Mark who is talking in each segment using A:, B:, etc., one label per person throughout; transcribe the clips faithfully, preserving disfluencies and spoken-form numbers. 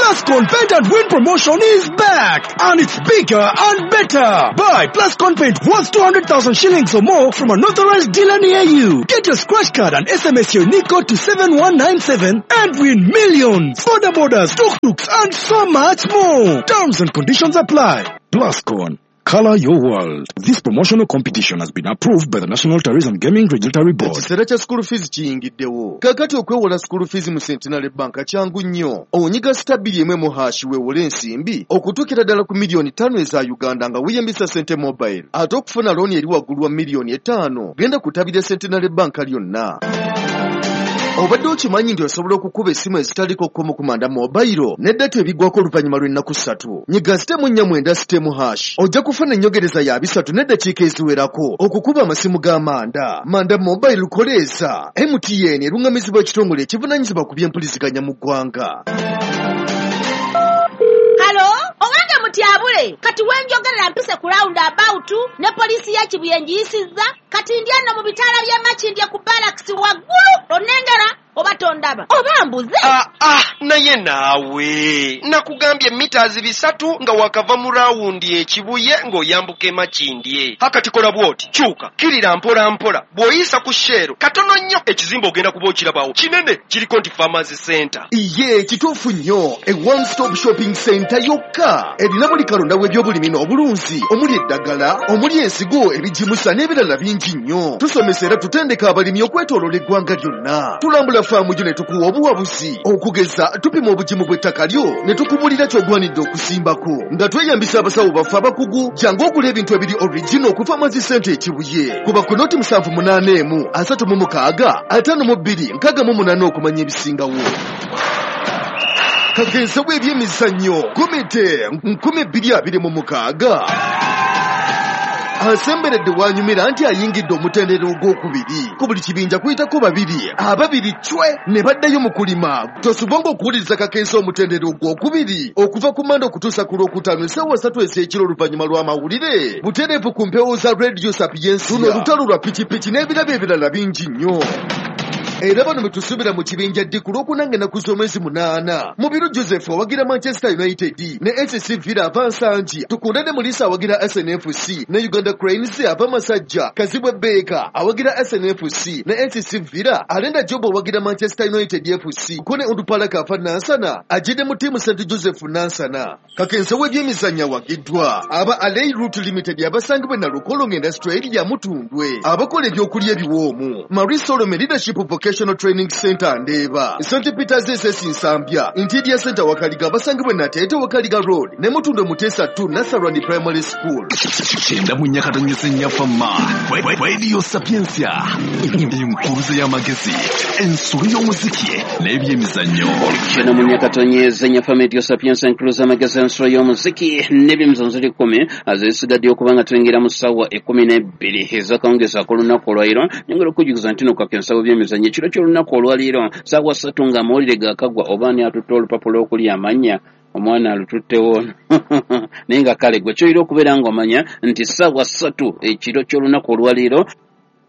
A: Plascon Paint and Win promotion is back, and it's bigger and better. Buy Plascon paint worth two hundred thousand shillings or more from an authorized dealer near you. Get your scratch card and S M S your unique code to seven one nine seven and win millions, border borders, tuk-tuks, and so much more. Terms and conditions apply. Plascon, color your world. This promotional competition has been approved by the National Tourism Gaming Regulatory Board.
B: Ekiseera kya school fees kiyingiddewo. Kaakati okwewola school fees mu Centenary Bank kyangu nnyo. Onyiga star bbiri emu emu hash weewole ensimbi okutuukira ddala ku miliyoni ttaano eza Uganda nga weeyambisa Sente Mobile. Ate okufuna looni eri waggulu wa miliyoni etaano, genda ku ttabi lya Centenary Bank lyonna. Obadde okimanyi nti osobola okukuba essimu ezitaliko kkomo ku Manda Mobile ne data ebigwako oluvannyuma lw'ennaku ssatu. Nyiga sitemu nnya mwenda sitemu hash. Ojja kufuna ennyongereza ya bisatu n'eddakiika eziwerako okukuba amasimu ga Manda. Manda Mobile koleeza. M T N erungamizibwa ekitongole ekivunaanyizibwa ku by'empuliziganya mu ggwanga.
C: Halo, owange mutyabule, kati wenjogerera mpise ku round about ne poliisi ya Kibuye ngiyisizza, kati ndi ano mu bitaala by'e Makindye ku barracks waggulu, onnengera oba tondaba oba mbuze.
D: Ah, ah, naye naawe nakugambye mitazi bisatu nga wakava mu rawundi e Kibuye ng'oyambuka e Makindye. Hakati kola bw'oti, kyuka kirira mpola mpola, bw'oyisa ku Shell katono nnyo ekizimbe ogenda kuba okirabawo kinene kiriko nti Farmers Center.
B: Iye kituufu nnyo, e one stop shopping center yokka erina buli kalonda w'ebyobulimi n'obulunzi omuli eddagala, omuli ensigo, ebigimusa n'ebirala bingi nnyo. Tusomesa era tutendeka abalimi okwetooloola eggwanga lyonna. Tulambula faamu gyo ne tukuwa obuwabuzi. Okugeza tupima obugimu bw'ettaka lyo ne tukubulira ky'ogwanidde okusimbako nga tweyambisa abasawo baffe abakugu. Jangu ogula ebintu ebiri original ku Farmers Center e Kibuye. Kuba ku noti musanvu munaana emu asatu mu mukaaga ataano mu bbiri nkaaga mu munaana okumanya ebisingawo. Kagenze w'ebyemizannyo komite nkumi bbiri abiri mu mukaaga. Asemberedde wanyumira nti ayingidde omutendera ogwokubiri. Ku buli kibinja kuyitako babiri, ababiri cwe ne baddayo mu kulima. Tosubwanga okuwuliriza Kakensa omutendera ogwokubiri okuva ku Mande okutuusa ku Lwokutaano essaawa ssatu ez'ekiro oluvannyuma lw'amawulire. Butereevu ku mpewo za Radio Sapientia. Luno olutalo lwa pikipiki n'ebirabo ebirala bingi nnyo. Era bano betusuubira mu kibinja ddi ku Lwokuna ng'ennaku z'omwezi munaana. Mubiru Joseph awagira Manchester United ne S C Villa ava Nsangi. Tukunda ne Mulisa awagira S N F C ne Uganda Cranes ava Masajja. Kazibwe Baker awagira S N F C ne S C Villa. Alenda Job awagira Manchester United F C. Kone Ondupalaka ava Nansana. Ajide mu ttiimu Saint Joseph Nansana. Kakensa w'ebyemizannyo awagiddwa aba Alei Route Limited abasangibwa Nalukolongo Industrial Area Mutundwe. Abakola ebyokulya ebiwoomu. Marie Solomon Leadership Vocational Training Center Ndeeba, Saint Peter's S S Nsambya, Interior Center Wakaliga abasangibwa Nateete Wakaliga Road ne Mutundwe Muteesa two Nasarani Primary School.
E: Kyenda mu Nyakatonyese Nyafama, Radio Sapientia, enkuruze y'amagezi, ensolo y'omuziki n'ebyemizannyo.
F: Kyenda mu Nyakatonyese Nyafama, Radio Sapientia, enkuruze y'amagezi, ensolo y'omuziki n'ebyemizannyo ziri kkumi azisigadde okuba nga tuyingira mu ssaawa ekkumi n'ebbiri ez'akawungeezi ak'olunaku olwaleero. Nyongera okujjukiza nti no Kakensa w'ebyemizannyo ekiro ky'olunaku olwaleero ssaawa ssatu ng'amawulire gaakagwa oba ani atutte olupapula okuli amannya omwana alututtewo naye nga kale gwe ky'olina okubeera ng'omanya nti ssaawa ssatu ekiro ky'olunaku olwaleero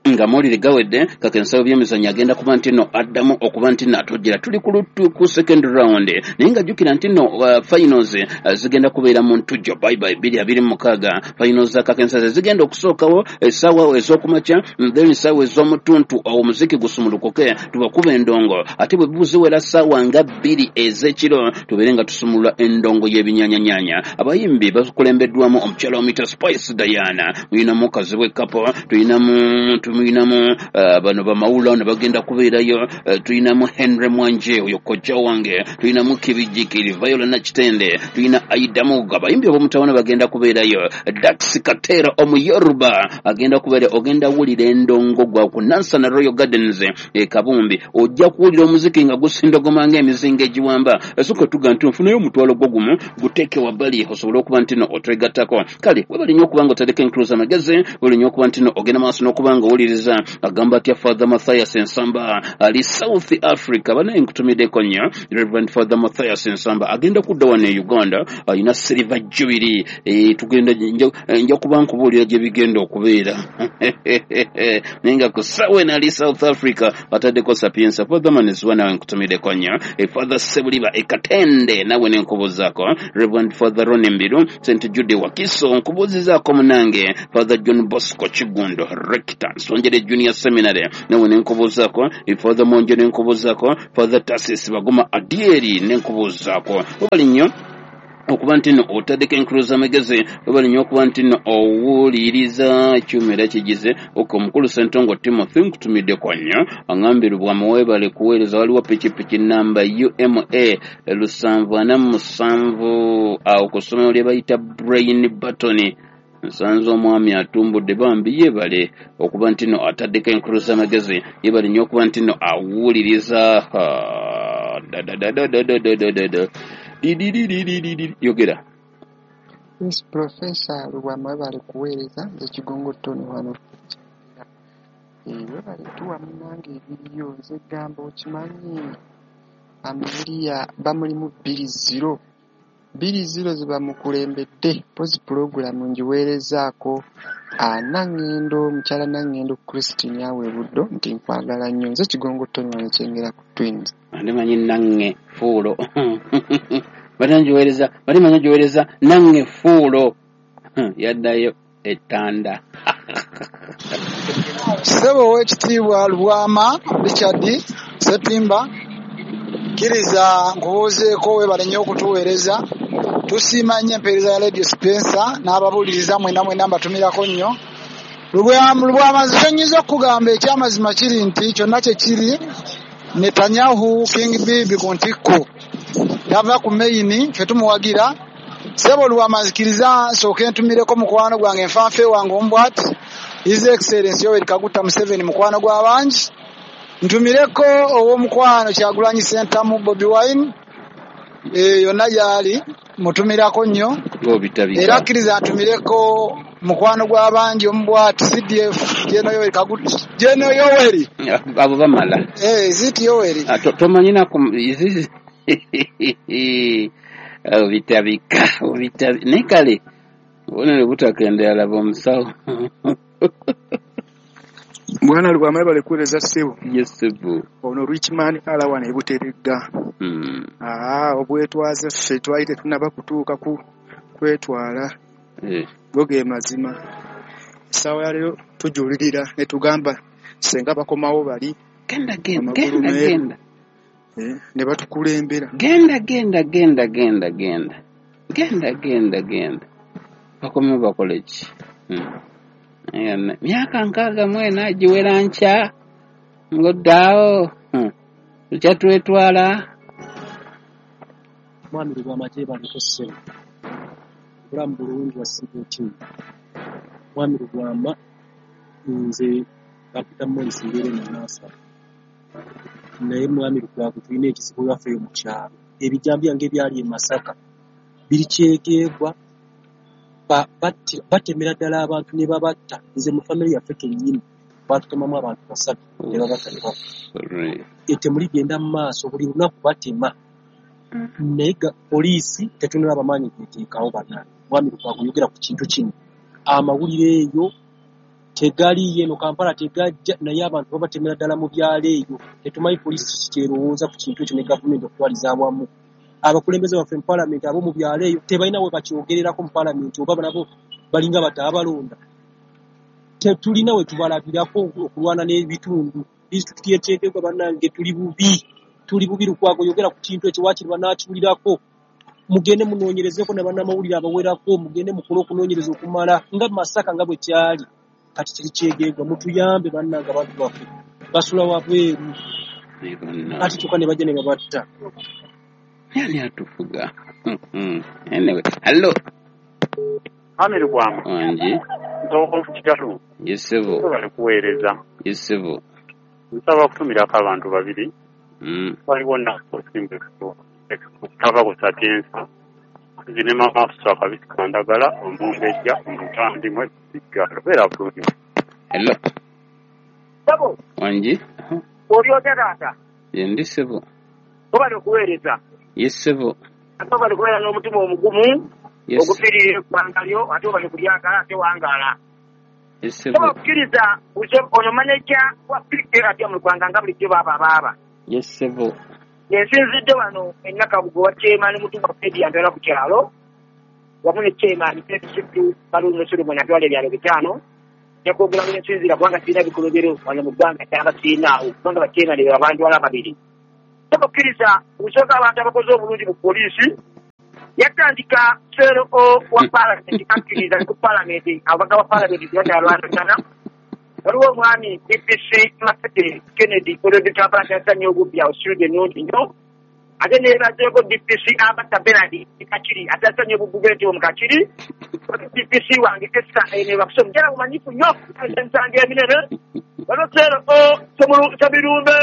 F: nga mawulire gawedde Kakensa w'ebyemizannyo agenda kuba nti no addamu okuba nti no atujjira. Tuli ku lutu ku second round naye nga jjukira nti no uh, finals uh, zigenda kubeera mu ntujjo bye bye bbiri abiri mu mukaaga. Finals za Kakensa ze zigenda okusookawo essaawa ez'okumakya, then essaawa ez'omutuntu omuziki gusumulukuke tubakuba endongo, ate bwe buziwera ssaawa nga bbiri ez'ekiro tubeere nga tusumulula endongo y'ebinyanyanyaanya. Abayimbi bakulembeddwamu omukyala omuyita Spice Diana, mulinamu Kazibwe Kapo, tulinamu tulinamu uh, bano bamawula ne bagenda kubeerayo, uh, tulinamu Henry Mwanje oyo kojja wange, tulinamu Kibijikiri Viola Nakitende, tulina Aida Muga, abayimbi ab'omutawana bagenda kubeerayo, Dax Katera Omuyoruba agenda kubeera. Ogenda wulira endongo gwa ku Nansana Royal Gardens e Kabumbi, ojja kuwulira omuziki nga gusindogoma ng'emizinga egiwamba. Esooka tuga nti nfunayo omutwalo gwo gumu guteeke wabbali osobole okuba nti no otwegattako. Kale webale nnyo okuba nga otereka enkuluza amagezi, webale nnyo okuba nti no ogenda maaso n'okuba nga owuliriza owuliriza. Agamba atya Father Mathias Nsamba ali South Africa, banaye nkutumiddeko nnyo. Reverend Father Mathias Nsamba agenda kudda wano e Uganda, alina Silver Jubilee. E, tugenda nja kuba nkubuulira gye bigenda okubeera naye nga ku ssaawa eno ali South Africa ataddeko Sapienza. Father Maneswa nawe nkutumiddeko nnyo. E, Father Sebuliba e Katende nawe nenkubuuzaako. Reverend Father Ronnie Mbiru Saint Jude Wakiso nkubuuzizaako munange. Father John Bosco Kigundo Rector Nsonjere Junior Seminary nawe nenkubuuzaako. E, Father Monjo nenkubuuzaako. Father Tasis Baguma Adieri nenkubuuzaako. Webali nnyo okuba nti nno otaddeko enkulu z'amagezi, webali nnyo okuba nti nno owuliriza ekyuma era kigize. Ok, omukulu Ssentongo Timothy nkutumiddeko nnyo, aŋŋambye Lubwama weebale kuweereza. Waliwo pikipiki namba U M A lusanvu ana mu musanvu awo ku ssomero lye bayita Brain Button. Nsanze omwami atumbudde, bambi yeebale okuba nti nno ataddeko enkulu z'amagezi, yeebale nnyo okuba nti nno awuliriza. Da da da da da da da da yogera.
G: Yes, Professor Lubwama webale kuweereza. Nze Kigongo Tony wano. Webale tuwa munnange ebiriyo. Nze gamba okimanyi Amelia bamulimu bbiri zero bbiri zero ze bamukulembedde. Mpozi pulogulaamu ngiweerezaako Nangendo, mukyala Nangendo Christine awe Buddo nti nkwagala nnyo. Nze Kigongo Tony wano Kyengera ku Twins.
F: Ndimanyi nange fuulo bali ngiweereza, bali manyi ngiweereza nange fuulo yaddayo ettanda.
H: Ssebo ow'ekitiibwa Lubwama Richard Ssetimba, kkiriza nkubuuzeeko, weebale nnyo okutuweereza. Tusiima nnyo empeereza ya Radio Spencer n'ababuuliriza mwenna mwenna mbatumirako nnyo. Lubwama nze kye nnyinza okukugamba ekyamazima kiri nti kyonna kye kiri Netanyahu King Bibi ku ntikko tava ku meyini, ffe tumuwagira. Ssebo Lubwama nzikiriza nsooke ntumireko mukwano gwange nfanfe wange omu bw'ati His Excellency Yoweri Kaguta Museveni mukwano gw'abangi. Ntumireko ow'omukwano Kyagulanyi Ssentamu Bobi Wine, e, yonna gy'ali mutumirako nnyo. Era kkiriza ntumireko mukwano gw'abangi omu bw'ati C D F General Yoweri Kaguta General Yoweri
F: abo bamala.
H: Eh, is it Yoweri?
F: Tomanyi naku obitabika obitabika naye kale obubonero butakendera laba omusawo.
I: Bwana Lubwama webale kuweereza ssebo.
F: Yes ssebo.
I: Ono Richman Alawan e Buteregga.
F: Mm.
I: Ah, obwetwaze ffe twali tetunnaba kutuuka ku kwetwala.
F: Eh.
I: Go ge mazima. Essaawa ya leero tujulirira ne tugamba ssenga bakomawo bali.
F: Genda genda genda genda.
I: Eh, ne batukulembera.
F: Genda genda genda genda genda. Genda genda genda. Bakomewo bakole ki? Mm. Myaka nkaaga mu ena giwera nkya ng'oddaawo tukyatwetwala.
J: Mwami Lubwama gyebaleko ssebo, obulamu bulungi wasiiba otya? Mwami Lubwama nze bampita Morris mbeera eno Nansana, naye mwami Lukwago tulina ekizibu ewaffe eyo mu kyalo. Ebijambiya ng'ebyali e Masaka biri kyegeegwa, batemera ddala abantu ne babatta. Nze mu famire yaffe kennyini baatutemamu abantu basatu ne babatta ne bafa. Ettemu ligenda mu maaso buli lunaku batema, naye poliisi tetunalaba maanyi geeteekawo. Bannange, mwami Lukwago yogera ku kintu kino. Amawulire eyo tegaliiyo eno Kampala tegajja, naye abantu babatemera ddala mu byalo eyo. Tetumanyi poliisi kiki kyerowooza ku kintu ekyo ne gavumenti okutwaliza awamu. Abakulembeze baffe mu paalamenti ab'omu byalo eyo tebalina we bakyogererako mu paalamenti, oba nabo balinga bataabalonda. Tetulina we tubalabirako okulwana n'ebitundu. Disitulikiti y'e Kyegegwa bannange tuli bubi, tuli bubi. Lukwago yogera ku kintu ekyo, waakiri banaakiwulirako. Mugende munoonyerezeko ne bannamawulire abawerako, mugende mukole okunoonyereza okumala nga Masaka nga bwe kyali. Kati kiri Kyegegwa, mutuyambe bannange, abantu baffe basula wabweru ate kyokka ne bajja ne babatta.
F: Ani atufuga? Anyway, hello.
K: Mwami Lubwama.
F: Wangi.
K: Nsooka Kitalu.
F: Yes ssebo.
K: Webale kuweereza.
F: Yes ssebo.
K: Nsaba kutumirako abantu babiri.
F: Mm.
K: Waliwo Nakusimba kutava ku Sapienza. Nze ne maama Afsa Kabisi Kandagala, omumbejja, omutandi mwe Kiggalo. Beera bulungi.
F: Hello.
L: Sabo.
F: Wangi.
L: Oli otya taata?
F: Ndi ssebo.
L: Obali okuweereza.
F: Yes ssebo.
L: Ate obali kubeera n'omutima omugumu.
F: Yes.
L: Okufiirira eggwanga lyo ate obali kulyagala ate wangaala.
F: Yes ssebo.
L: Sabo okkiriza ono maneja wa P K atya mu ggwanga nga bulijjo baaba baaba.
F: Yes ssebo.
L: Nsinzidde wano e Nakabugo wa chairman Mutumba Fred yantwala ku kyalo wamu ne chairman Petro Baluno Solomon atwala ebyalo bitaano. Njakwogera mu nsinzira kubanga sirina bikolobero wano mu ggwanga kyaba sirinaawo kubanga ba chairman be abantwala babiri. Okkiriza okusooka abantu abakoze obulungi mu poliisi yatandika C L O wa palamenti akkiriza ku palamenti ababaka ba palamenti tebakyalwanagana. Waliwo omwami D P C Masete Kennedy olwedde Kampala kyasanye obubbi awo Sirudde ennungi nnyo. Ate neebazeeko D P C Abata Bernard Kakiri ate asanye obubbi bw'entebe mu Kakiri. D P C wange Esther Enebakusa omukyala mumanyifu nnyo emisango eminene. Waliwo C L O Sebirumbe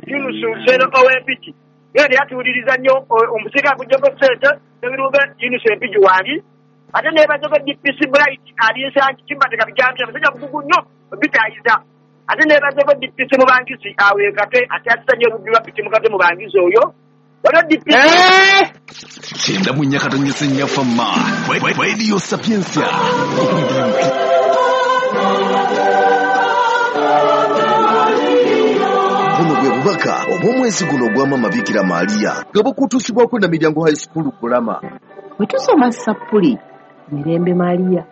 L: Yunusu C L O w'Empigi yena yatuwuliriza nnyo omusika aguggyeko ssente Sebirumbe Yunusu Empigi wange. Ate neebazeeko D P C Bright ali Nsangi Kimbateka Bijambi abasajja bukugu nnyo bitayiza. Ate neebazeeko D P C Mubangisi awe Kate ate asanye obubbi bwa piki mukate Mubangisi oyo. Waliwo D P C
E: kyenda mu nnya katonyese nnya Fama Radio Sapientia.
B: Buno bwe bubaka obw'omwezi guno ogwa Maama Bikira Maria nga bukutuusibwako na Miryango High School Kulama.
M: Bwe tusoma sappuli Mirembe Maria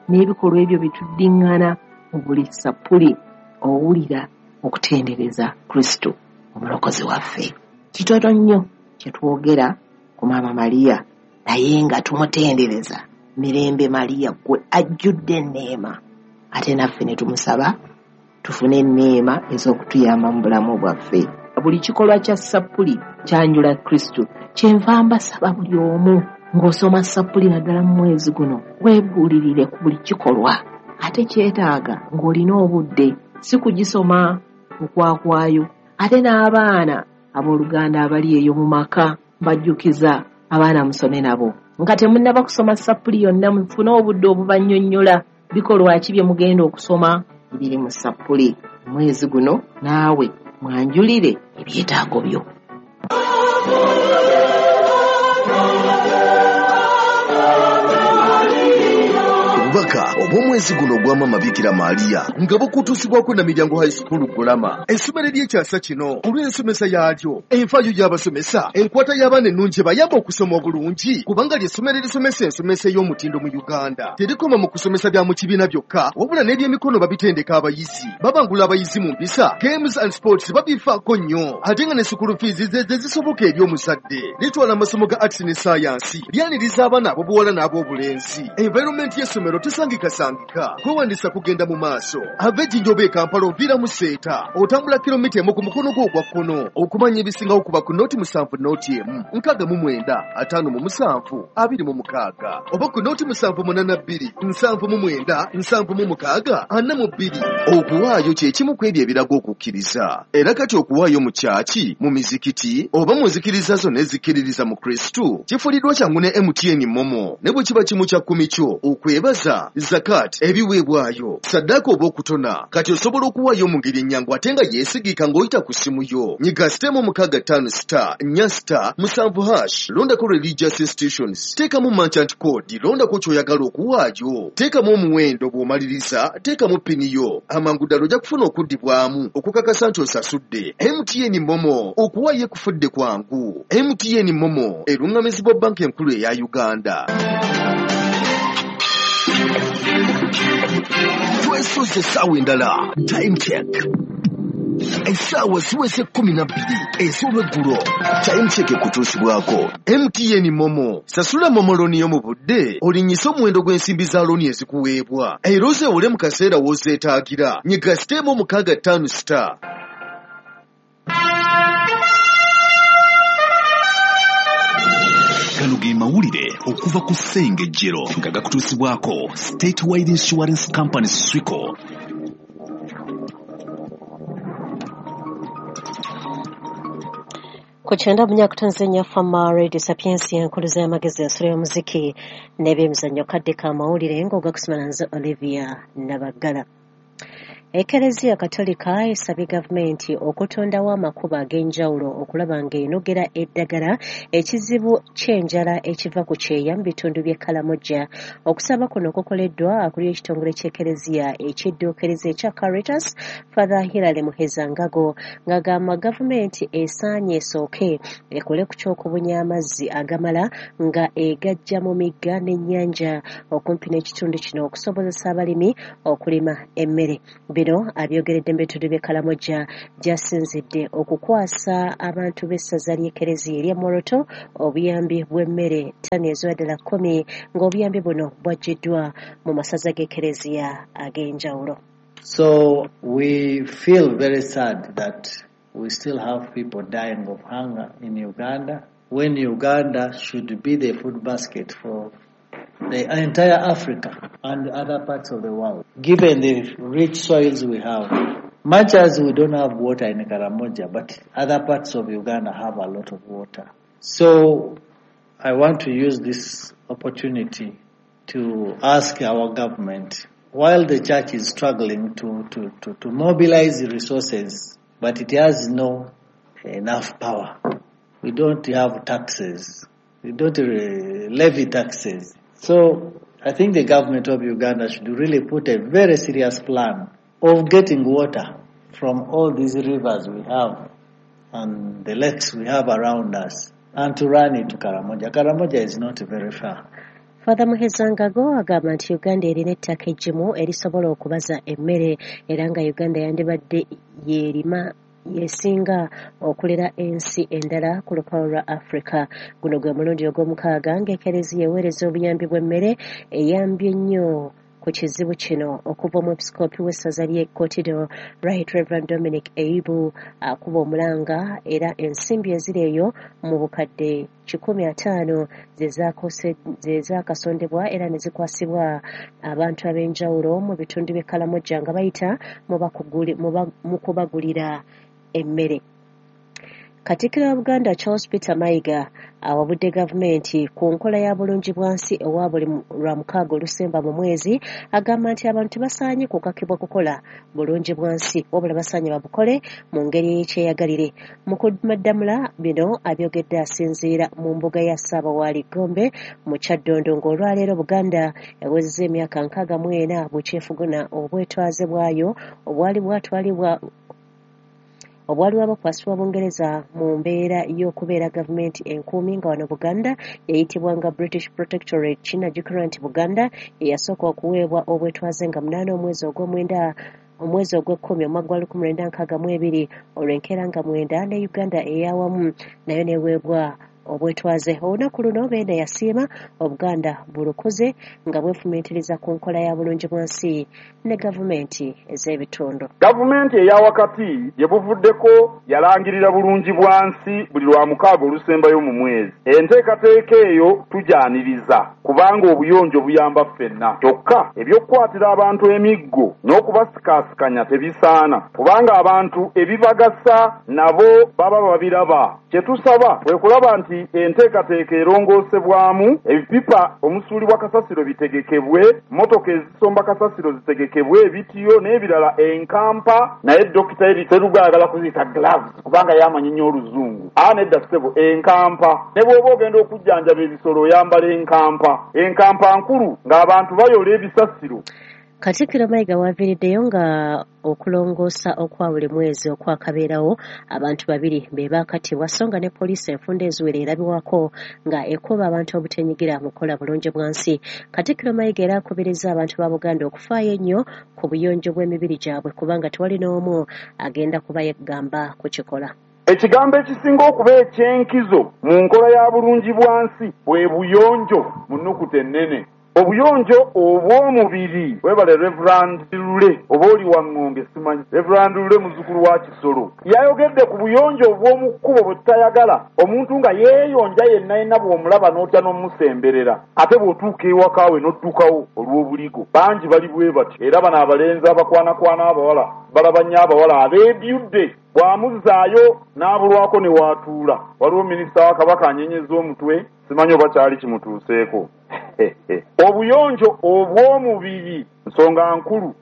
M: n'ebikolwa ebyo bituddiŋŋana mu buli sappuli owulira okutendereza Kristo omulokozi waffe. Kitono nnyo kye twogera ku Maama Maria naye nga tumutendereza Mirembe Maria gwe ajjudde enneema ate naffe ne tumusaba tufune enneema ez'okutuyamba mu bulamu bwaffe. Buli kikolwa kya sappuli kyanjula Kristo. Kyenva mbasaba buli omu ng'osoma sappuli naddala mu mwezi guno weebuulirire ku buli kikolwa ate kyetaaga ng'olina obudde si kugisoma okwakwayo. Ate n'abaana abooluganda abali eyo mu maka mbajjukiza abaana musome nabo nga temunnaba kusoma sappuli yonna mufune obudde obubannyonnyola bikolwa ki bye mugenda okusoma ebiri mu sappuli. Omwezi guno naawe mwanjulire ebyetaago byo.
B: Obubaka obw'omwezi guno ogwa Maama Bikira Maria nga bukutuusibwako na Miryango High School Kulama. Essomero ery'ekyasa kino olw'ensomesa yaalyo, enfaayo y'abasomesa, enkwata y'abaana ennungi ebayamba okusoma obulungi kubanga ly'essomero erisomesa ensomesa ey'omutindo mu Uganda. Terikoma mu kusomesa bya mu kibiina byokka wabula n'ebyemikono babitendeka abayizi. Babangula abayizi mu mpisa, games and sports babifaako nnyo ate nga ne school fees ze zisoboka eri omuzadde. Litwala amasomo ga arts ne science, lyaniriza abaana ab'obuwala n'ab'obulenzi. Environment y'essomero tesangikasangika. Kwewandisa kugenda mu maaso. Ava Ejjinja oba e Kampala oviira mu Seeta. Otambula kilomita emu ku mukono gwo ogwa kkono. Okumanya ebisingawo kuba ku nooti musanvu nooti emu nkaaga mu mwenda ataano mu musanvu abiri mu mukaaga oba ku nooti musanvu munaana bbiri nsanvu mu mwenda nsanvu mu mukaaga ana mu bbiri. Okuwaayo kye kimu ku ebyo ebiraga okukkiriza. Era kati okuwaayo mu kyaki, mu mizikiti oba mu nzikiriza zonna ezikkiririza mu Kristo kifuliddwa kyangu ne M T N Momo ne bwe kiba kimu kya kkumi kyo okwebaza, zakat, ebiweebwayo, saddaaka oba okutona. Kati osobola okuwaayo mu ngeri ennyangu ate nga yeesigika ng'oyita ku ssimu yo. Nyiga sitemu mukaaga ttaano star nnya star musanvu hash, londako religious institutions, teekamu merchant code, londako ky'oyagala okuwaayo, teekamu omuwendo bw'omaliriza, teekamu pini yo. Amangu ddala ojja kufuna okuddibwamu okukakasa nti osasudde. M T N Momo, okuwaayo ekufudde kwangu. M T N Momo eruŋŋamizibwa banka enkulu eya Uganda. Twesoze essaawa endala. Time check. Essaawa ziweze kkumi na bbiri ez'olweggulo. Time check ekutuusibwako M T N Momo. Sasula Momo looni yo mu budde olinnyise omuwendo gw'ensimbi za looni ezikuweebwa era ozeewole mu kaseera w'ozeetaagira. Nyiga siteemu mukaaga ttaano star.
E: Gano ge mawulire okuva ku Ssengejjero nga gakutuusibwako Statewide Insurance Company Swico.
N: Ku kyenda munyakutonze Fama Radio Sapiensia enkuluza y'amagezi ensolo y'omuziki n'ebyemizannyo kadde k'amawulire ng'ogakusoma nze Olivia Nabaggala. Ekereziya Katolika esabye gavumenti okutondawo amakubo ag'enjawulo okulaba ng'enogera eddagala ekizibu ky'enjala ekiva ku kyeya mu bitundu by'e Karamoja. Okusaba kuno kukoleddwa akulira ekitongole ky'Ekereziya ekidduukirize ekya Caritas, Father Hilary Muhezangago, ng'agamba gavumenti esaanye esooke ekole ku ky'okubunya amazzi agamala nga egajja mu migga n'ennyanja okumpi n'ekitundu kino okusobozesa abalimi okulima emmere. Bino abyogeredde mu bitundu by'e Karamoja gy'asinzidde okukwasa abantu b'essaza ly'Ekereziya erya Moroto obuyambi bw'emmere ttani eziwera ddala kkumi, ng'obuyambi buno bwaggiddwa mu masaza g'Ekereziya ag'enjawulo.
O: So we feel very sad that we still have people dying of hunger in Uganda, when Uganda should be the food basket for the entire Africa and other parts of the world. Given the rich soils we have, much as we don't have water in Karamoja, but other parts of Uganda have a lot of water. So I want to use this opportunity to ask our government, while the church is struggling to, to, to, to mobilize resources, but it has no enough power. We don't have taxes. We don't levy taxes. So I think the government of Uganda should really put a very serious plan of getting water from all these rivers we have and the lakes we have around us and to run it to Karamoja. Karamoja is not very far.
N: Father Muhezangago agamba nti Uganda erina ettaka eggimu erisobola okubaza emmere era nga Uganda yandibadde yeerima yesinga okulera ensi endala ku lukalu lwa Africa. Guno gwe mulundi ogw'omukaaga ng'Ekereziya eweereza obuyambi bw'emmere eyambye ennyo ku kizibu kino okuva omwepisikoopi w'essaza ly'e Kotido Right Reverend Dominic Eibu akuba omulanga era ensimbi eziri eyo mu bukadde kikumi ataano ze zaakasondebwa era ne zikwasibwa abantu ab'enjawulo mu bitundu by'e Karamoja nga bayita mu kubagulira emmere. Katikkiro wa Buganda Charles Peter Mayiga awabudde gavumenti ku nkola ya bulungi bwansi ewa buli lwa mukaaga olusemba mu mwezi, agamba nti abantu tebasaanye kukakibwa kukola bulungi bwansi wabula basaanye babukole mu ngeri ey'ekyeyagalire. Mu kumaddamula bino abyogedde asinziira mu mbuga ya Ssaabawaali Gombe mu Kyaddondo ng'olwaleero Buganda ewezezza emyaka nkaaga mu ena bukyefuguna obwetwaze bwayo obwali bwatwalibwa obwali bwakwasibwa Bungereza mu mbeera y'okubeera gavumenti enkuumi nga wano Buganda yayitibwanga British Protectorate. Kinajjukirwa nti Buganda yeyasooka okuweebwa obwetwaze nga munaana omwezi ogw'omwenda omwezi ogw'ekkumi omwaka gwa lukumi lwenda nkaaga mu ebiri, olwo enkeera nga mwenda ne Uganda ey'awamu nayo neweebwa obwetwaze. Olunaku luno Beene yasiima Obuganda bulukuze nga bwefumiitiriza ku nkola ya bulungi bwansi ne gavumenti ez'ebitundu.
P: Gavumenti eya wakati gye buvuddeko yalangirira bulungi bwansi buli lwa mukaaga olusembayo mu mwezi. Enteekateeka eyo tugyaniriza kubanga obuyonjo buyamba ffenna. Kyokka ebyokukwatira abantu emiggo n'okubasikaasikanya tebisaana kubanga abantu ebibagasa nabo baba babiraba. Kye tusaba kwe kulaba nti enteekateeka erongoosebwamu, ebipipa omusuulibwa kasasiro bitegekebwe, mmotoka ezisomba kasasiro zitegekebwe, ebitiyo n'ebirala, enkampa. Naye Dokita Eri Seruga ayagala kuziyita gloves kubanga yamanyi nnyo oluzungu. Aa nedda ssebo, enkampa. Ne bw'oba ogenda okujjanjaba ebisolo oyambala enkampa. Enkampa nkulu ng'abantu bayola ebisasiro.
N: Katikkiro Mayiga waviiriddeyo nga okulongoosa okwa buli mwezi okwakabeerawo abantu babiri be baakatibwa, so nga ne poliisi enfunda eziwera erabibwako nga ekuba abantu obutenyigira mu kukola bulungi bwansi. Katikkiro Mayiga era akubiriza abantu ba Buganda okufaayo ennyo ku buyonjo bw'emibiri gyabwe kubanga tewali n'omu agenda kuba yeggamba kukikola.
P: Ekigambo ekisinga okuba eky'enkizo mu nkola ya bulungi bwansi bwe buyonjo mu nnukuta ennene. Obuyonjo obw'omubiri. Webale Reverend Lule oba oli wa Ŋŋonge simanyi. Reverend Lule muzzukulu wa Kisolo yayogedde ku buyonjo obw'omu kkubo bwe tutayagala, omuntu nga yeeyonja yenna yenna bw'omulaba n'otya n'omusemberera, ate bw'otuuka ewaka we n'oddukawo olw'obuligo. Bangi bali bwe batyo, era bano abalenzi abakwanakwana abawala balaba nnyo abawala abeebyudde bw'amuzzaayo n'abulwako ne waatuula. Waliwo minisita wa Kabaka anyenyeza omutwe, simanyi oba kyali kimutuuseeko. Obuyonjo obw'omubiri nsonga nkulu.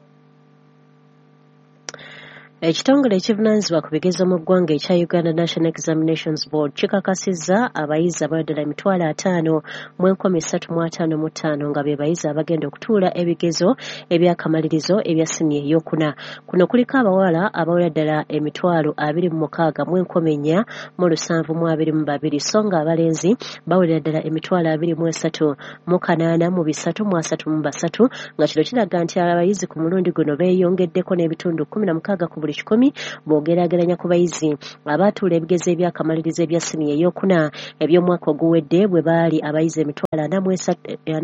N: Ekitongole ekivunaanyizibwa ku bigezo mu ggwanga ekya Uganda National Examinations Board kikakasizza abayizi abaweddala emitwalo ataano mu enkumi ssatu mu ataano mu ttaano nga be bayizi abagenda okutuula ebigezo eby'akamalirizo ebya siniya ey'okuna. Kuno kuliko abawala abawera ddala emitwalo abiri mu mukaaga mu enkumi nnya mu lusanvu mu abiri mu babiri, so nga abalenzi bawerera ddala emitwalo abiri mu esatu mu kanaana mu bisatu mu asatu mu basatu, nga kino kiraga nti abayizi ku mulundi guno beeyongeddeko n'ebitundu kkumi na mukaaga ku buli kikumi bw'ogeraageranya ku bayizi abaatuula ebigezo eby'akamalirizo ebya siniya ey'okuna eby'omwaka oguwedde bwe baali abayizi emitwalo ana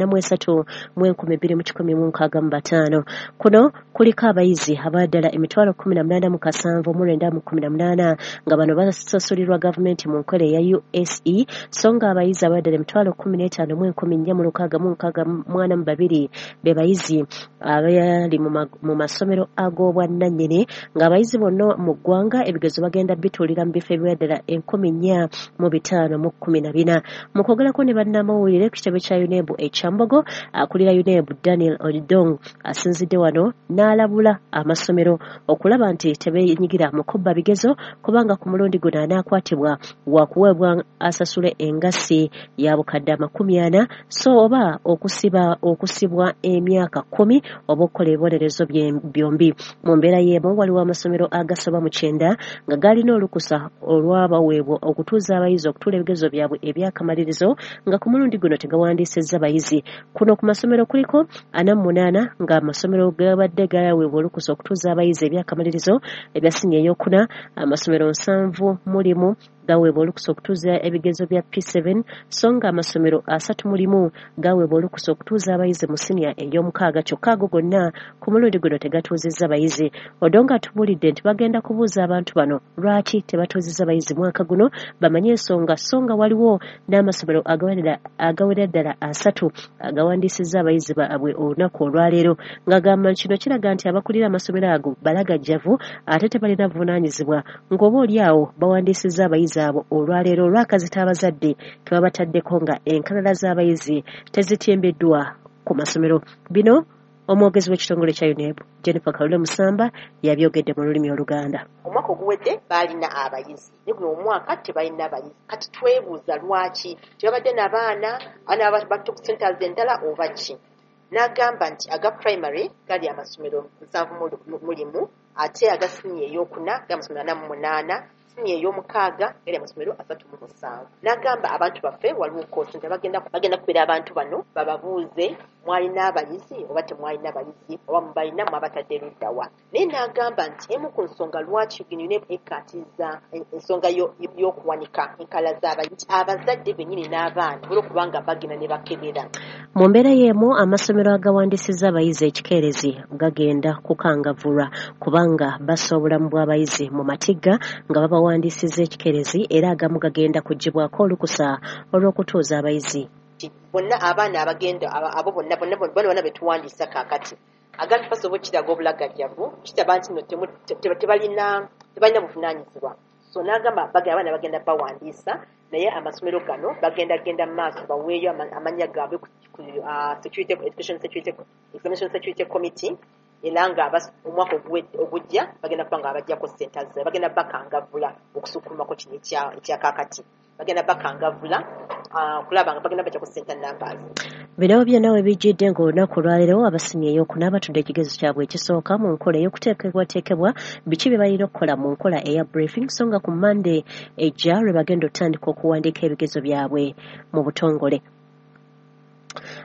N: mu esatu mu enkumi bbiri mu kikumi mu nkaaga mu bataano. Kuno kuliko abayizi abaddala emitwalo kkumi na munaana mu kasanvu mu lwenda mu kkumi na munaana nga bano basasulirwa gavumenti mu nkola eya U S E, so nga abayizi abaddala emitwalo kkumi n'etaano mu enkumi nnya mu lukaaga mu nkaaga mu ana mu babiri be bayizi abali mu masomero ag'obwannannyini, ng'abayizi bonna mu ggwanga ebigezo bagenda bituulira mu bifo ebiwera enkumi nnya mu bitaano mu kkumi na bina. Mu kwogerako ne bannamawulire ku kitebe kya UNEB e Kyambogo, akulira UNEB Daniel Odong asinzidde wano n'alabula amasomero okulaba nti tebeenyigira mu kubba bigezo, kubanga ku mulundi guno anaakwatibwa wakuweebwa asasule engassi ya bukadde amakumi ana, so oba okusiba okusibwa emyaka kkumi oba okukola ebibonerezo byombi. Mu mbeera y'emu waliwo amasomero agasoba mu kyenda nga galina olukusa olwabaweebwa okutuuza abayizi okutuula ebigezo byabwe eby'akamalirizo nga ku mulundi guno tegawandiisizza bayizi. Kuno ku masomero kuliko ana mu munaana nga amasomero gabadde gaweebwa olukusa okutuuza abayizi eby'akamalirizo ebya siniya ey'okuna, amasomero nsanvu mu limu gaweebwa olukusa okutuuza ebigezo bya P seven, so nga amasomero asatu mu limu gaweebwa olukusa okutuuza abayizi mu siniya ey'omukaaga, kyokka ago gonna ku mulundi guno tegatuuzizza bayizi. Odonga atubuulidde nti bagenda kubuuza abantu bano lwaki tebatuuzizza bayizi mwaka guno bamanye ensonga, so nga waliwo n'amasomero agawera ddala asatu agawandiisizza abayizi baabwe olunaku olwaleero, ng'agamba nti kino kiraga nti abakulira amasomero ago balagajjavu ate tebalina buvunaanyizibwa, ng'oba oli awo bawandiisizza abayizi abo olwaleero olw'akazito abazadde ke babataddeko nga enkalala z'abayizi tezitimbiddwa ku masomero. Bino omwogezi w'ekitongole kya UNEB Jennifer Kalule Musamba yabyogedde mu lulimi Oluganda.
Q: Omwaka oguwedde baalina abayizi, naye guno omwaka tebalina abayizi. Kati twebuuza lwaki tebabadde n'abaana abaana bato ku centers endala oba ki? N'agamba nti aga primary gali amasomero nsanvu mu limu, ate aga siniya ey'okuna gali amasomero ana mu munaana, siniya ey'omukaaga gali amasomero asatu mu musanvu. N'agamba abantu baffe waliwo koosi nti bagenda bagenda kubeera abantu bano bababuuze mwalina abayizi oba temwalina abayizi oba mubalina mwabatadde ludda wa. Naye n'agamba nti emu ku nsonga lwaki UNEB ekkaatiriza ensonga y'okuwanika enkala z'abayizi, abazadde bennyini n'abaana olw'okubanga bagenda ne bakebera.
N: Mu mbeera y'emu amasomero agawandiisizza abayizi ekikeerezi gagenda kukangavvulwa kubanga bassa obulamu bw'abayizi mu matigga nga babawandiisizza ekikeerezi, era agamu gagenda kuggyibwako olukusa olw'okutuuza abayizi.
Q: Bonna abaana abagenda abo bonna bonna bonna betuwandiisa kaakati agantu basobola okukiraga obulagajjavu kitaba nti nno tebalina tebalina buvunaanyizibwa. So n'agamba abaana bagenda bawandiisa, naye amasomero gano bagenda genda mu maaso baweeyo amannya gaabwe ku security education security examination security committee, era nga omwaka ogujja bagenda kuba nga abaggyako ssente zaabwe, bagenda bakangavvula okusukkulumako kino ekya kaakati, bagenda bakangavvula kulaba nga bagenda bajjako ssente numbers.
N: Bino byonna we bijjidde ng'olunaku olwaleero abasiniya ey'okuna batudde ekigezo kyabwe ekisooka mu nkola ey'okuteekebwateekebwa biki bye balina okukola mu nkola eya briefing, so nga ku Monday ejja lwe bagenda okutandika okuwandiika ebigezo byabwe mu butongole.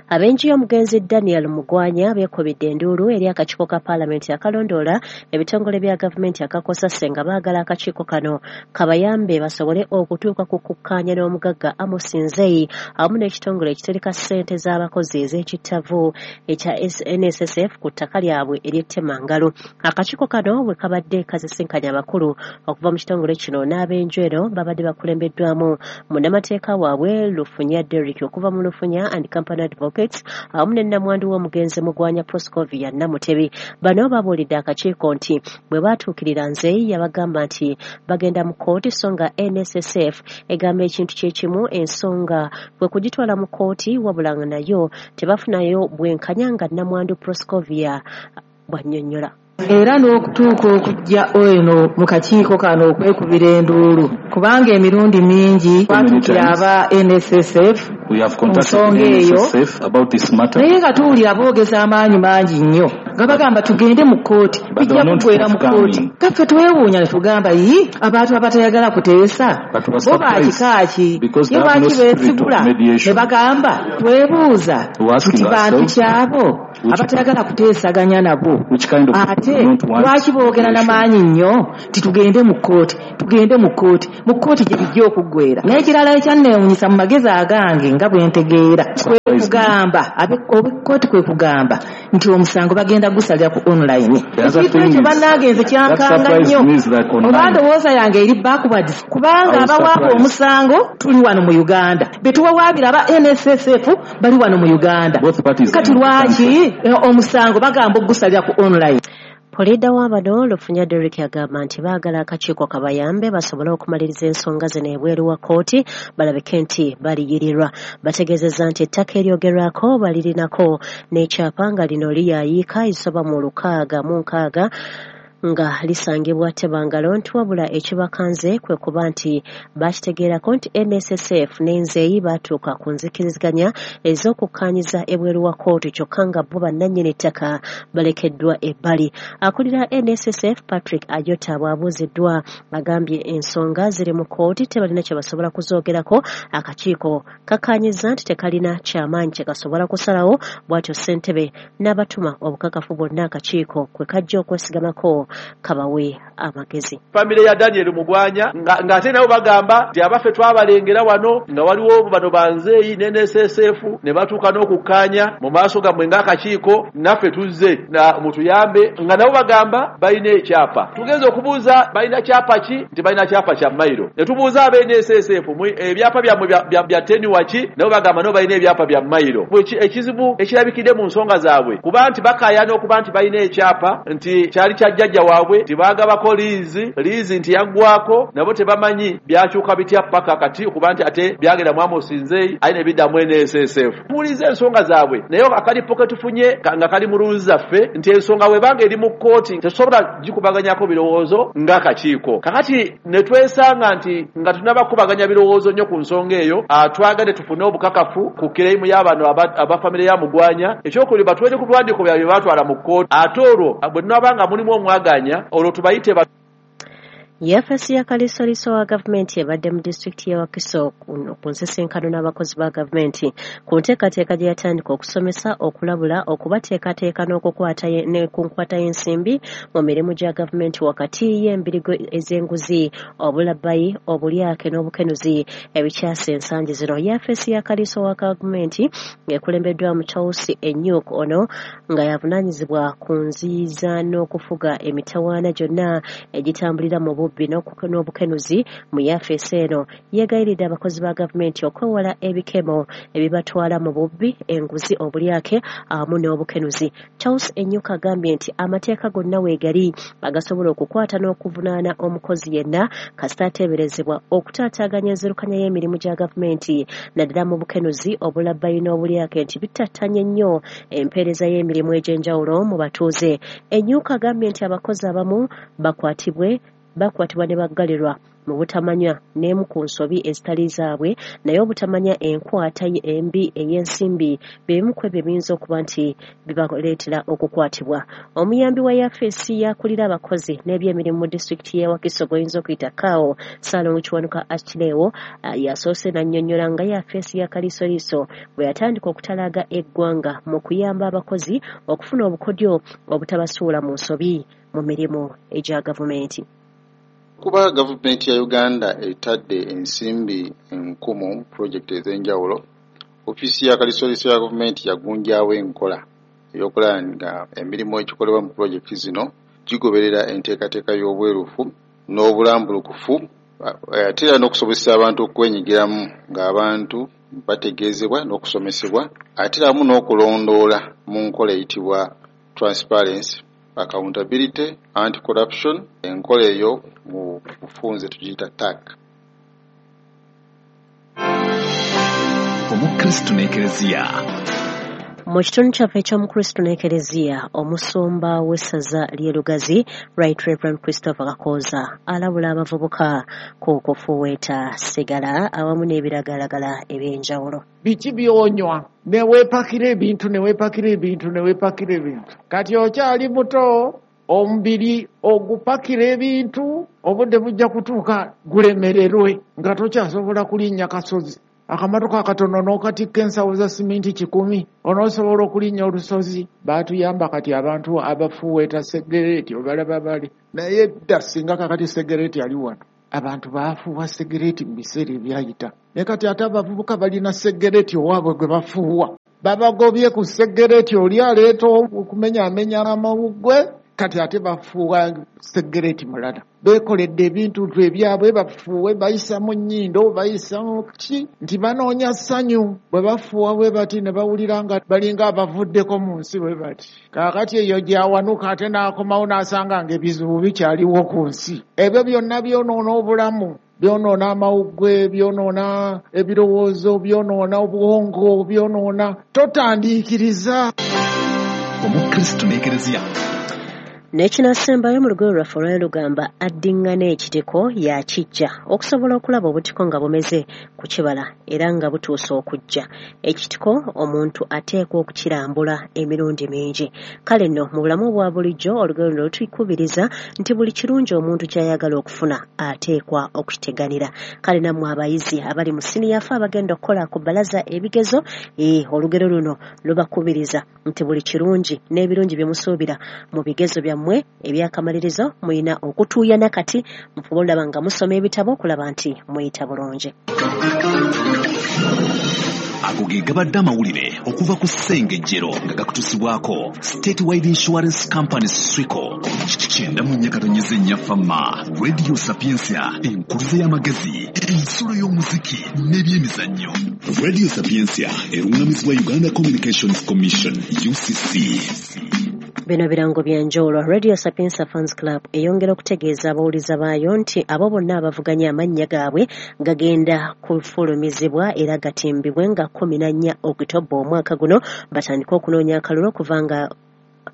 N: Ab'enju y'omugenzi Daniel Mugwanya beekubidde enduulu eri akakiiko ka paalamenti akalondoola ebitongole bya gavumenti akakosase nga baagala akakiiko kano kabayambe basobole okutuuka ku kukkaanya n'omugagga Amos Nzeyi awamu n'ekitongole ekitereka ssente z'abakozi ez'ekittavu ekya N S S F ku ttaka lyabwe ery'ettemangalo. Akakiiko kano bwe kabadde kasisinkanya abakulu okuva mu kitongole kino n'ab'enju eno babadde bakulembeddwamu munnamateeka waabwe Lufunya Derrick okuva mu Lufunya and Company Advocates awamu ne nnamwandu w'omugenzi Mugwanya Proscovia Namutebi. Bano babuulidde akakiiko nti bwe baatuukirira Nzeyi yabagamba nti bagenda mu kkooti, so nga N S S F egamba ekintu kye kimu ensonga kwe kugitwala mu kkooti, wabula nga nayo tebafunayo bwenkanya nga nnamwandu Proscovia bw'annyonnyola.
M: Era n'okutuuka okujja eno mu kakiiko kano okwekubira enduulu, kubanga emirundi mingi twatuukira aba N S S F ku nsonga eyo, naye nga tuwulira boogeza amaanyi mangi nnyo nga bagamba tugende mu kkooti, bijja kuggwera mu kkooti. Kaffe twewuunya ne tugamba yi abantu abatayagala kuteesa bo ba kika ki, ye lwaki beesigula ne bagamba twebuuza tuti bantu kyabo abatayagala kuteesaganya nabo, ate lwaki boogera n'amaanyi nnyo nti tugende mu kkooti, tugende mu kkooti, mu kkooti gye bijja okuggwera. N'ekirala ekyanneewuunyisa mu magezi agange nga bwe ntegeera kwe kugamba ab'ekkooti kwe kugamba nti omusango bagenda gusalira ku online. Ekintu ekyo bannange nze kyankanga nnyo, oba ndowooza yange eri backwards, kubanga abawaaba omusango tuli wano mu Uganda, be tuwawaabira aba N S S F bali wano mu Uganda, kati lwaki omusango bagamba ogusalira ku online?
N: Puliida w'abano Lufunya Derrick agamba nti baagala akakiiko kabayambe basobole okumaliriza ensonga zino ebweru wa kkooti balabike nti baliyirirwa. Bategeezezza nti ettaka eryogerwako balirinako n'ekyapa nga lino liyaayiika ezisoba mu lukaaga mu nkaaga nga lisangibwa Tebangalo, nti wabula ekibakanze kwe kuba nti bakitegeerako nti N S S F n'enzeeyi baatuuka ku nzikiriziganya ez'okukkaanyiza ebweru wa kkooti, kyokka nga bo bannannyini ttaka balekeddwa ebbali. Akulira N S S F Patrick Ajota bw'abuuziddwa agambye ensonga ziri mu kkooti tebalina kye basobola kuzoogerako, akakiiko kakkaanyizza nti tekalina kyamaanyi kye kasobola kusalawo, bw'atyo ssentebe n'abatuma obukakafu bwonna akakiiko kwe kajja okwesigamako kabawe amagezi.
R: Famire ya Daniel Mugwanya ng'ate nabo bagamba nti abaffe twabalengera wano nga waliwo bano banzeeyi ne N S S F ne batuuka n'okukkaanya mu maaso gammwe ng'akakiiko naffe tuzze na mutuyambe, nga nabo bagamba balina ekyapa. Tugenze okubuuza balina kyapa ki, nti balina kyapa kya mayiro. Ne tubuuza aba N S S F ebyapa byammwe bya tenuwa ki, nabo bagamba nabo balina ebyapa bya mayiro. Ekizibu ekirabikidde mu nsonga zaabwe kuba nti bakaayana okuba nti balina ekyapa nti kyali kya jjajja waabwe, tibagabako liizi, liizi nti yaggwako, nabo tebamanyi byakyuka bitya paka kati okuba nti ate byagenda mu Amos Nzeyi aye ne biddamu N S S F. Tuwuliza ensonga zaabwe, naye akalipo ke tufunye nga kali mu ruuzi zaffe nti ensonga bw'ebanga eri mu kkooti tetusobola gikubaganyako birowoozo ng'akakiiko. Kakati ne twesanga nti nga tunnabakubaganya birowoozo nnyo ku nsonga eyo, twagadde tufune obukakafu ku kireimu y'abano aba famire ya Mugwanya. Ekyokubiri batuweere ku biwandiiko byabwe bye baatwala mu kkooti, ate olwo bwe tunaaba mulimu omwaganya olwo tubayite.
N: Yafesi ya kalisoliso wa gavumenti ebadde mu disitulikiti y'e Wakiso ku nsisinkano n'abakozi ba gavumenti ku nteekateeka gye yatandika okusomesa, okulabula, okubateekateeka n'okukwata ne ku nkwata y'ensimbi mu mirimu gya gavumenti wakati y'embirigo ez'enguzi, obulabbayi, obulyake n'obukenuzi ebikyasa ensangi zino. Yafesi ya kaliso wa gavumenti ng'ekulembeddwamu Charles Enyuk, ono nga yavunaanyizibwa ku nziyiza n'okufuga emitawaana gyonna egitambulira mu bubbi n'obukenuzi mu yafesi eno, yeegayiridde abakozi ba gavumenti okwewala ebikemo ebibatwala mu bubbi, enguzi, obulyake awamu n'obukenuzi. Charles Enyuka agambye nti amateeka gonna weegali agasobola okukwata n'okuvunaana omukozi yenna kasita ateeberezebwa okutaataaganya enzirukanya y'emirimu gya gavumenti naddala mu bukenuzi, obulabbayi n'obulyake nti bitattanye nnyo empeereza y'emirimu egy'enjawulo mu batuuze. Enyuka agambye nti abakozi abamu bakwatibwe bakwatibwa ne baggalirwa mu butamanya n'emu ku nsobi ezitali zaabwe, naye obutamanya enkwata embi ey'ensimbi bimu ku ebyo biyinza okuba nti bibaleetera okukwatibwa. Omuyambi wa yafesi yakulira abakozi n'ebyemirimu mu disitulikiti y'e Wakiso gw'oyinza okuyita Kaawo Ssaalongo Kiwanuka Akirewo yasoose n'annyonnyola nga yafesi ya Kalisoliso bwe yatandika okutalaaga eggwanga mu kuyamba abakozi okufuna obukodyo obutabasuula mu nsobi mu mirimu egya gavumenti.
S: Kuba gavumenti ya Uganda etadde ensimbi enkumu mu pulojekiti ez'enjawulo, ofiisi ya kalisoliso ya gavumenti yagunjaawo enkola ey'okulaba nga emirimu egikolebwa mu pulojekiti zino gigoberera enteekateeka y'obwerufu n'obulambulukufu, ate era n'okusobozesa abantu okwenyigiramu ng'abantu bategeezebwa n'okusomesebwa, ate era wamu n'okulondoola mu nkola eyitibwa transparency, accountability, anti-corruption. Enkola eyo mu bufunze tugiyita T A C.
E: Omukristu n'Ekereziya.
N: Mu kitundu kyaffe eky'Omukristo n'Ekereziya, omusumba w'essaza ly'e Lugazi, Right Reverend Christopher Kakooza, alabula abavubuka ku kufuweeta sigala awamu n'ebiragalalagala eby'enjawulo.
T: Biki by'onywa ne weepakira ebintu ne weepakira ebintu ne weepakira ebintu. Kati okyali muto, omubiri ogupakira ebintu, obudde bujja kutuuka gulemererwe nga tokyasobola kulinnya kasozi. Akamatoka akatono n'okatikka ensawo za siminti kikumi, onoosobola okulinnya olusozi. Baatuyamba kati abantu abafuweeta segereeti obalaba bali, naye dda singa kakati segereeti ali wano, abantu baafuuwa segereeti mu biseera ebyayita. Naye kati ate abavubuka balina segereeti owaabwe gwe bafuuwa, babagobye ku segereeti oli aleeta okumenyaamenya amawuggwe, kati ate bafuuwa segereeti mulala. Beekoledde ebintu ebyabwe bafuuwe, bayisa mu nnyindo, bayisa mu ki, nti banoonya ssanyu. Bwe bafuuwa bwe bati ne bawulira nga balinga abavuddeko mu nsi bwe bati. Kaakati eyo gy'awanuka ate n'akomawo n'asanga ng'ebizibu bikyaliwo ku nsi. Ebyo byonna byonoona obulamu, byonoona amawuggwe, byonoona ebirowoozo, byonoona obwongo, byonoona. Totandiikiriza.
E: Omukristo n'Ekereziya.
N: N'ekinasembayo mu lugero lwaffe olwali lugamba addiŋŋana ekitiko yakijja okusobola okulaba obutiko nga bumeze ku kibala era nga butuuse okujja. Ekitiko omuntu ateekwa okukirambula emirundi mingi. Kale nno mu bulamu obwa bulijjo olugero luno lutukubiriza nti buli kirungi omuntu ky'ayagala okufuna ateekwa okukiteganira. Kale nammwe abayizi abali mu siniya ffe abagenda okukola ku bbalaza ebigezo, ee olugero luno lubakubiriza nti buli kirungi n'ebirungi bye musuubira mu bigezo byammwe mwe ebyakamalirizo muyina okutuuyana kati mufube olaba nga musoma ebitabo okulaba nti muyita bulungi.
E: Ago ge gabadde amawulire okuva ku Ssengejjero nga gakutuusibwako Statewide Insurance Company Swico. Kyenda mu nnya katonyeze nnya Fama, Radio Sapientia, enkuluze y'amagezi, ensulo y'omuziki n'ebyemizannyo. Radio Sapientia erungamizibwa Uganda Communications Commission U C C.
N: Bino birango bya njawulo. Radio Sapientia Fans Club eyongera okutegeeza abawuliza baayo nti abo bonna abavuganya amannya gaabwe gagenda kufulumizibwa era gatimbibwe nga kkumi na nnya Okitoba omwaka guno, batandike okunoonya akalulu okuva nga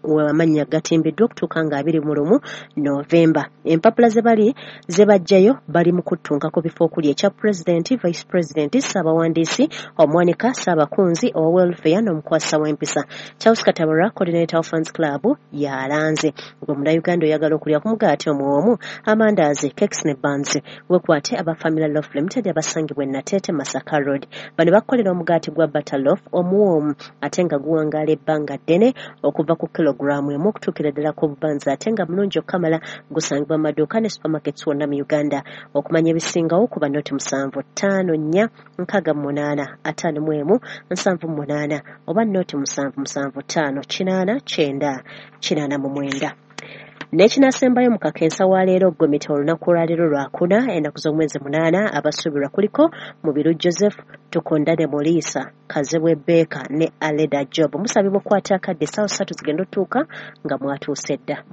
N: amannya gatimbiddwa okutuuka nga abiri mu lumu Novemba. Empapula ze bali ze bajjayo bali mu kuttunka ku bifo okuli ekya pulezidenti, vice president, ssaabawandiisi, omuwanika, ssaabakunzi, owa welfare n'omukwasa w'empisa. Charles Katabura, coordinator wa Fans Club, yalanze. Gwe Munnayuganda oyagala okulya ku mugaati omuwoomu, amandaazi, cakes ne buns, weekwate aba Family Loaf Limited abasangibwa e Nateete Masaka Road. Bano bakukolera omugaati gwa butter loaf omuwoomu ate nga guwangaala ebbanga ddene okuva ku kilogrammu emu okutuukira ddala ku bubanza ate nga mulungi okukamala. Gusangibwa mu maduuka ne supermarkets wonna mu Uganda. Okumanya ebisingawo kuba noti musanvu ttaano nnya nkaaga mu munaana ataano mu emu nsanvu mu munaana oba noti musanvu musanvu ttaano kinaana kyenda kinaana mu mwenda. N'ekinasembayo mu kakensa wa leero Gomita olunaku olwaleero lwakuna ennaku z'omwezi munaana abasuubirwa kuliko Mubiru Joseph, Tukondane Moliisa, Kazibwe Baker ne Aleda Job. Musabibwa okukwata akadde essaawa ssatu zigenda otuuka nga mwatuuse dda.